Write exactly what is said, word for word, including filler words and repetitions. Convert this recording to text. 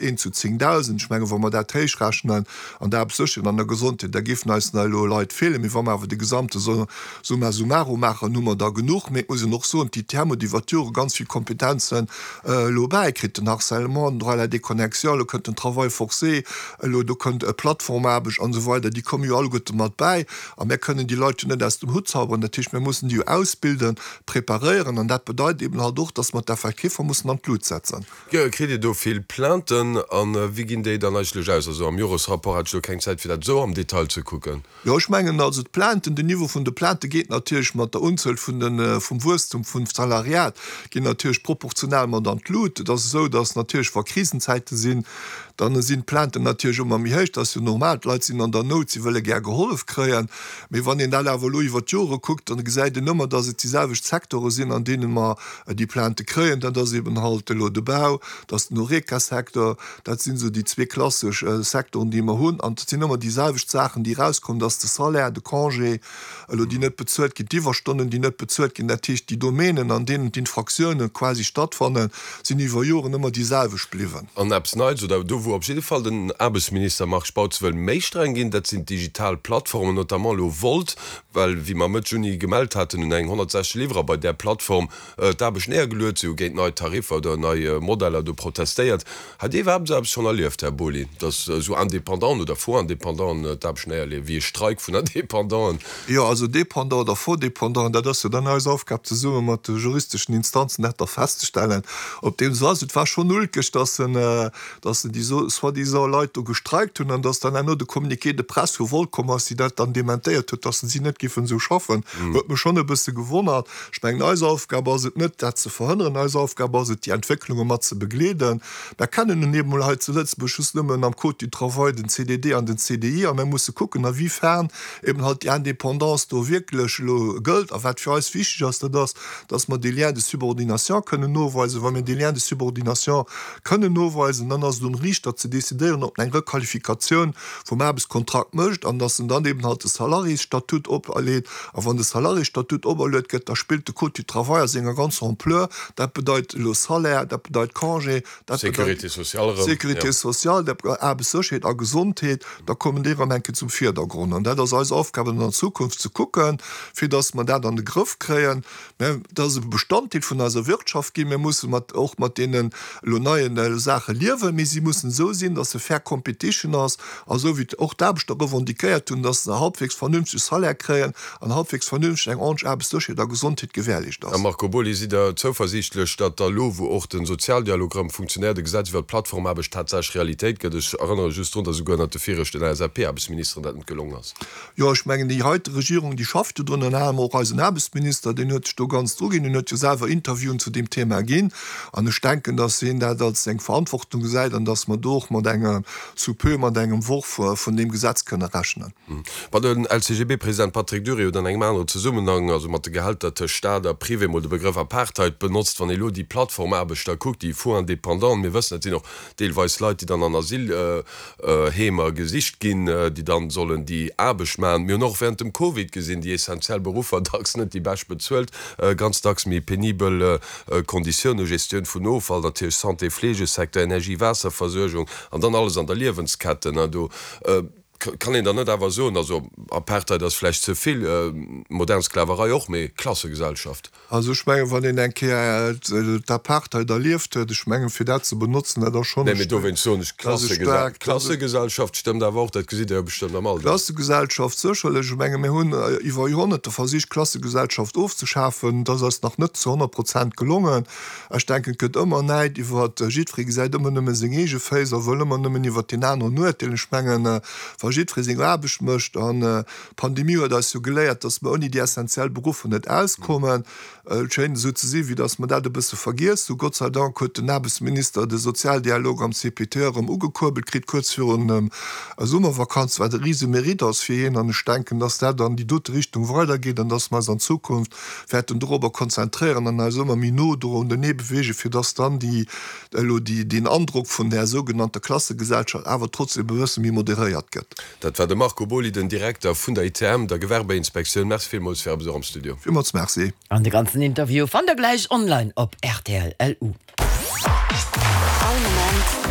Eent zu zéngdausend. Ech mengen, wa mer dat héichrechnen an der Aarbechtssécherheet an der Gesondheet, da géifen eis nach elo Leit feelen. Mee wa mer awer de gesamte Summa summarum maachen, hu mer der genuch. Mee et muss een och soen, d'I T M huet iwwert d'Jore ganz vill Kompetenzen elo bäikritt, den Harcèlement, den Droit à la déconnexion, elo kënnt den Travail forcé, elo do kënnt Plattformaarbecht an esou weider, déi komme jo alleguerte mat bäi. A mir kënnen déi Leit jo net aus dem Hutt zauberen. Dat heescht, mir mussen déi jo ausbilden, preparéieren. An dat bedeit eeben halt och, dass mer d'Effektiffer mussen an d'Lut setzen. Kritt Dir do vill Plainten an wéi ginn déi dann eigentlech aus? Also am Joresrapport hat ech elo keng Zäit fir dat esou am Detail ze kucken. Jo, ech mengen also d'Plainten, den Niveau vun de Plaintë geet natierlech mat der Unzuel vun de vum Wuesstum vum Salariat ginn natierlech proportional mat an d'Lut. Et ass esou, datt natierlech wa Krisenzäite sinn, dann sinn d'Plainten natierlech ëmmer méi héich. Dat ass jo normal, d'Leit sinn an der Nout, si wëlle gär gehollef kréien. Mee wann een dat awer elo iwwer d'Jore kuckt, dann gesäit een ëmmer, datt et déi selwecht Secteure sinn, an deene mer déi Plaintë kréien. Dat ass eben halt elo de Bau, dat ass den Horeca-Secteur, dat sinn esou déi zwee klassesch Secteuren, déi mer hunn. An et sinn ëmmer déi selwecht Saachen, déi erauskommen, dat ass de Salaire, de Congé elo, déi net bezuelt ginn, d'Iwwerstonnen, déi net bezuelt ginn. Dat heescht, déi Domänen, an deenen d'Infraktiounen quasi stattfannen, sinn iwwer Joren ëmmer déi selwecht bliwwen. An eppes Neits, oder do wou op jidde Fall den Aarbechtsminister Marc Spautz wëll méi streng ginn, dat sinn d'digital Plattformen, notamment elo Wolt, well wéi mer Mëtt Juni gemellt haten, hunn eng honnertsechzeg Liwwerer bei där Plattform d'Aarbecht néiergeluet, si hu géint nei Tariffer oder nei Modeller do protestéiert. Hat Dir iwwerhaapt esou eppes schonn erlieft, Här Boly, datt esou Indépendanten oder Faux-Indépendanten d'Aarbecht néierleeën, wéi e Streik vun Indépendanten? Jo, also Dépendant oder Faux-Dépendant, dat ass jo dann eis Aufgab zesumme mat de juristeschen Instanzen dat da festzestellen, ob deem esou ass. Et war schonn ulkeg, datt en, datt en déi soi-disant Leit do gestreikt hunn an datt dann herno de Communiqué de presse vu Wolt komm ass, déi dat dann dementéiert huet, datt si net géifen esou schaffen. Huet mech schonn e bësse gewonnert. Ech mengen, eis Aufgab ass et net, dat ze verhënneren, eis Aufgab ass et, déi Entwécklunge mat ze begleeden. Mer kennen nun eemol hei zu Lëtzebuerg just nëmmen am Code du travail den C D D an den C D I a mer musse kucken, a wéifern eben halt déi Indépendance do wierklech elo gëllt. A wat fir eis wichteg ass, dat ass, dass mer dee Lien de subordination kënnen noweisen. Wa mir dee Lien de subordination kënnen noweisen, dann ass et um Riichter ze decidéieren, ob en eng Requalifikatioun vum Aarbechtskontrakt mécht an dass en dann eben halt de Salariésstatut operleet. A wann de Salariésstatut operluet gëtt, da spillt de Code du travail a senger ganzer Ampleur. Dat bedeit elo Salaire, dat bedeit Congé, dat bedeit Sécurité sociale erëm, Sécurité jo. sociale, dat bedeit Aarbechtssécherheet a Gesondheet, da kommen déi erëm eng Kéier zum Virdergrond. An dat ass eis Aufgab an der Zukunft ze kucken, fir dass mer dat an de Grëff kréien. Mä dat ass e Bestanddeel vun eiser Wirtschaft ginn. Mir musse mat, och mat deenen elo neien Saache liewen, mee si mussen esou sinn, dass se fair competition ass a sou wéi och d'Aarbechter revendiquéiert hunn, dass se halbwegs vernünfteg Salaire kréien an halbwegs vernünfteg eng ordentlech Aarbechtssécherheet a Gesondheet gewährleescht Här ass. Marco Boly, sidd Der zouversiichtlech, datt da elo, wou och de Sozialdialog erëm funktionéiert, e Gesetz iwwert d'Plattformaarbecht tatsächlech Realitéit gëtt? Ech erënnere just drun, datt esouguer ënnert de viregten L S A P-Aarbechtsministeren dat net gelongen ass. Jo, ech mengen, déi heite Regierung, déi schafft jo drun, ënner anerem och eisen Aarbechtsminister, deen huet sech do ganz druginn, deen huet jo selwer Interviewen zu deem Thema ginn. An ech denken, datt hien dat als seng Verantwortung gesäit an datt mer do och mat engem sous peu mat engem Worf vun deem Gesetz kënne rechnen. Ma den L C G B-President Patrick Dury huet an engem aneren Zesummenhang, also mat de Gehälter tëscht Staat a Privé, mol de Begrëff Apartheid benotzt. Wann ee lo déi Plattformaarbechter kuckt, déi Faux-Indépendanten, mir wëssen, et sinn och deelweis Leit, déi dann an Asylheemer gesicht ginn, déi dann sollen déi Aarbecht maachen. Mir hunn och während dem Covid gesinn, déi essentiell Beruffer dacks net déi bescht bezuelt, ganz dacks méi penibel Konditiounen, Gestioun vun Offall natierlech, Santé, Fleegesecteur, Energie, Waasserversuergung an dann alles an der Liewensketten. Do kann een dann net awer soen, also Apartheid ass vläicht ze vill, modern Sklaverei och, mee Klassegesellschaft. Also ech mengen, wann een eng Kéier d'Apartheid erlieft huet, ech mengen, fir dat ze benotzen, dat ass schonn Nee, mee dowéinst soen ech dat ass e staarkt, Klassegesellschaft stëmmt awer och, dat gesitt Der jo bestëmmt am Alldag. Klassegesellschaft sécherlech. Ech menge mir hunn iwwer Joerhonnerte versicht, d'Klassegesellschaft ofzeschafen. Dat ass eis nach net zu honnert Prozent gelongen. Ech denken, et gëtt ëmmer Näid iwwer, jiddweree gesäit ëmmer nëmme seng eege Féiss a wëll ëmmer nëmmen iwwer deen aneren urteelen. Ech mengen, wa jiddweree seng Aarbecht mécht, an d'Pandemie huet eis jo geléiert, dass mer ouni déi essenziell Beruffer net auskommen, et schéint esou ze sinn, wéi dass mer dat e bësse vergiess hunn. Gott sei Dank huet den Aarbechtsminister de Sozialdialog am C P T erëm ugekuerbelt kritt, kuerz virun der Summervakanz, wat e rise Mérite ass fir hien. An ech denken, dass dat an déi dote Richtung weidergeet an dass mer eis an Zukunft wäerten dorobber konzentréieren an eis ëmmer méi no do unenee beweegen, fir dass dann déi elo déi deen Androck vun där sougenannter Klassegesellschaft awer trotzdem e bësse méi moderéiert gëtt. Dat war de Marco Boly, den Direkter vun der I T M, der Gewerbeinspektioun. Merci villmools fir Äre Besuch am Studio. Villmools merci. An de ganzen Interview fannt der gläich online op R T L L U. All Moment.